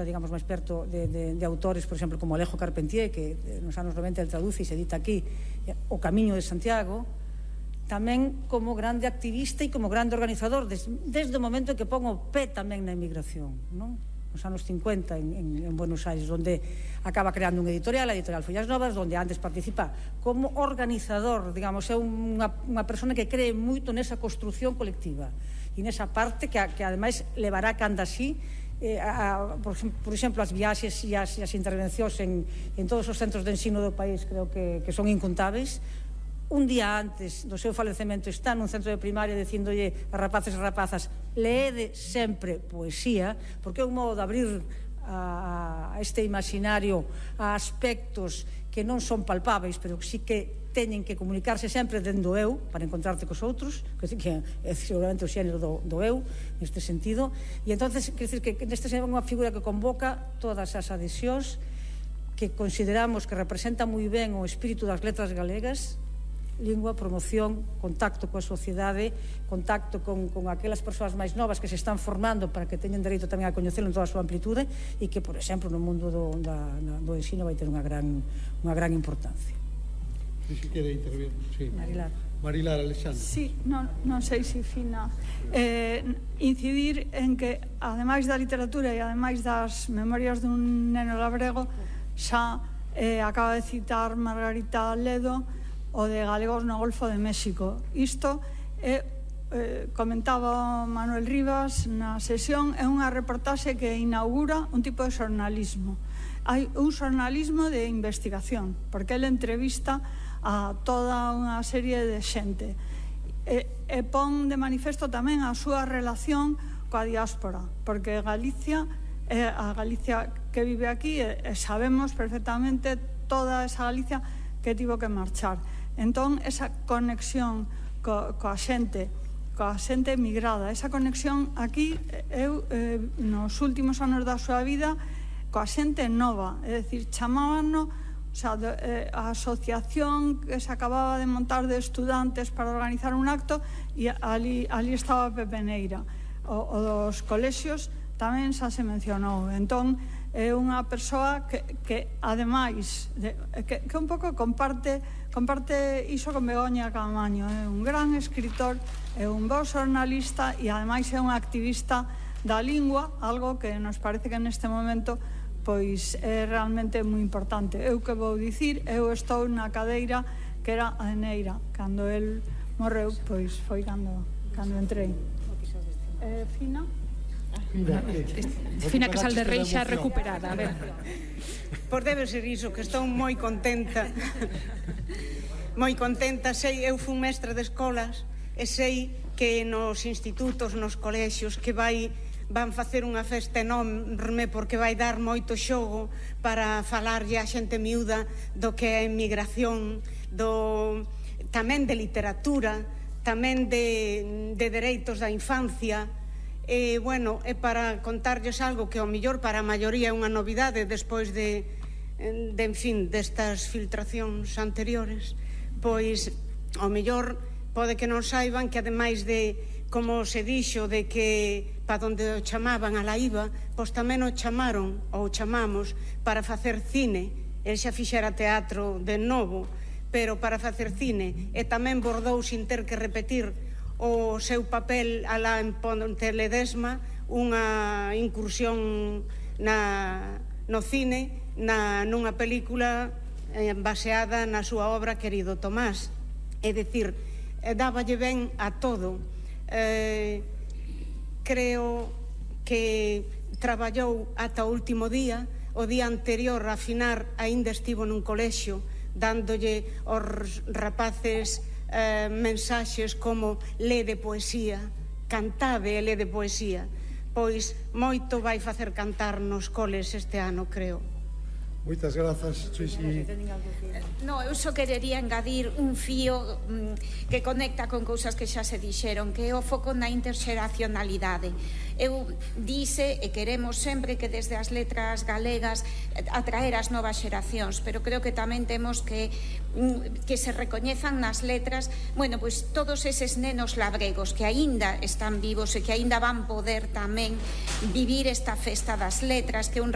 digamos, máis perto de autores, por exemplo, como Alejo Carpentier, que nos anos 90 el traduce e se edita aquí, O Camiño de Santiago, tamén como grande activista e como grande organizador desde o momento en que pon o pé tamén na emigración, non? Nos anos 50 en Buenos Aires, onde acaba creando unha editorial, a editorial Follas Novas, onde antes participa como organizador, digamos, é unha persona que cree moito nesa construción colectiva e nesa parte que ademais levará canda así por exemplo, as viaxes e as intervencións en todos os centros de ensino do país, creo que son incontáveis. Un día antes do seu falecemento está nun centro de primaria dicíndolle a rapaces e rapazas: leede sempre poesía, porque é un modo de abrir a este imaginario a aspectos que non son palpáveis, pero que sí que teñen que comunicarse sempre dentro do eu para encontrarte cos outros, que é seguramente o xénero do eu neste sentido. E entonces, quer dizer que neste é unha figura que convoca todas as adhesións, que consideramos que representa moi ben o espírito das letras galegas: lingua, promoción, contacto coa sociedade, contacto con aquelas persoas máis novas que se están formando para que teñan dereito tamén a coñecelo en toda a súa amplitude, e que, por exemplo, no mundo do ensino vai ter unha gran importancia. Si quere intervir, sí. Marilar, Alexandre. Sí, non sei se fina incidir en que, ademais da literatura e ademais das memorias dun neno labrego, xa acaba de citar Margarita Ledo o de galegos no Golfo de México. Isto comentaba Manuel Rivas na sesión, é unha reportaxe que inaugura un tipo de xornalismo. Hai un xornalismo de investigación, porque ele entrevista a toda unha serie de xente e pon de manifesto tamén a súa relación coa diáspora, porque Galicia é a Galicia que vive aquí e sabemos perfectamente toda esa Galicia que tivo que marchar. Entón, esa conexión coa xente emigrada, esa conexión aquí, eu nos últimos anos da súa vida, coa xente nova, é dicir, chamábanos, a asociación que se acababa de montar de estudantes para organizar un acto, e ali estaba Pepe Neira. O dos colexios tamén xa se mencionou. Entón, é unha persoa que ademais que un pouco comparte iso con Begoña Caamaño. É un gran escritor, é un bo xornalista e ademais é un activista da lingua, algo que nos parece que neste momento pois é realmente moi importante. Eu que vou dicir, eu estou na cadeira que era a Neira. Cando el morreu, pois foi cando entrei. Fina? Fina Casal de Rei xa recuperada, a ver. Pois debe ser iso, que estou moi contenta. Moi contenta, sei, eu fui mestra de escolas e sei que nos institutos, nos colexios, que van facer unha festa enorme porque vai dar moito xogo para falarlle a xente miúda do que é a emigración, tamén de literatura, tamén de dereitos da infancia. Bueno, é para contarlles algo que ao mellor para a maioría é unha novidade despois en fin, destas filtracións anteriores. Pois, ao mellor pode que non saiban que ademais de, como se dixo, de que para onde o chamaban a la IVA, pois tamén o chamaron, ou chamamos, para facer cine. El xa fixera teatro de novo, pero para facer cine, e tamén bordou sin ter que repetir o seu papel alá en Ponte Ledesma, unha incursión no cine, nunha película baseada na súa obra Querido Tomás. É dicir, dáballe ben a todo. Creo que traballou ata o último día. O día anterior a finar aínda estivo nun colexio dándolle aos rapaces mensaxes como lede poesía, cantade e lede poesía. Pois moito vai facer cantar nos coles este ano, creo. Moitas grazas, Susi. No, eu só querería engadir un fío que conecta con cousas que xa se dixeron, que é o foco na interxeracionalidade. Eu dice e queremos sempre que desde as letras galegas atraer as novas xeracións, pero creo que tamén temos que se recoñezan nas letras, bueno, pois todos eses nenos labregos que aínda están vivos e que aínda van poder tamén vivir esta festa das letras, que é un